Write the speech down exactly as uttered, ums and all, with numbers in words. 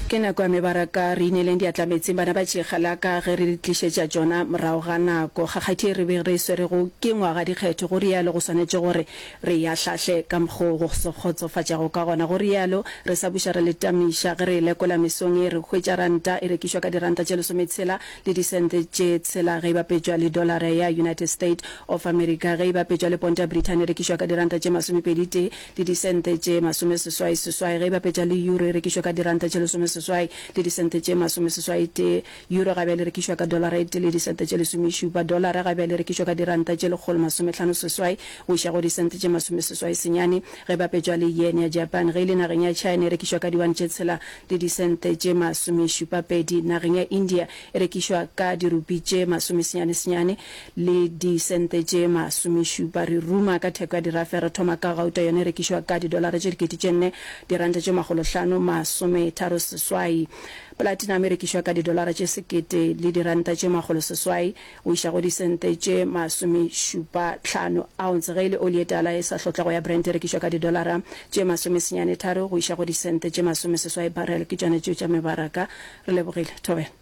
Ke nako ya mebaraka, re ineleng diatla meetseng bana ba tšegalaka ge re le tlišetša tšona morago ga nako. Kgakgathi ye re be re e swerego ke ngwaga dikgetho, go rialo go swanetše gore re e ahlahle ka mokgo go se kgotsofatšago ka gona. Go rialo re sa buša re le tamiša ge re e lekola mesong ye, re hwetša ranta e rekišwa ka diranta tše lesometshela le disente tše tshela ge e bapetšwa le dolara ya United State of America, ge e bapetšwa le ponto ya Brithani e rekišwa ka diranta tše masomepedi tee le disente tše masomeseswai seswai, ge e bapetšwa le euro e rekišwa ka diranta tše lesomeseswai le disente tše masomeseswai tee. Euro ga bjale e rekišwa ka dolara e tee le disente tše lesomešupa. Dolara ga bjale e rekišwa ka diranta tše lekgolo masomehlano seswai go iša go disente tše masomeseswai senyane ge e bapetšwa le yen ya Japan. Ge e le nageng ya China e rekišwa ka diwane tše tshela le disente tše masomešupa pedi. Nageng ya India e rekišwa ka dirupi tše masomesenyane senyane le disente tše masomešupa. Re ruma ka theko ya dirafe, re thoma ka gauta, yona e rekišwa ka didolara tše dikete tše nne, diranta tše makgolohlano masometharo seswai. Platinum e rekišwa ka didolara tše sekete le diranta tše makgolo seswai go iša go disente tše masomešupa hlano ounce. Ge e le oli e tala e sa hlotlwago ya Brent e rekišwa ka didolara tše masomesenyane tharo go iša go disente tše masomeseswai barrel. Ke tšona tšeo tša mebaraka. Re lebogile. Thobela.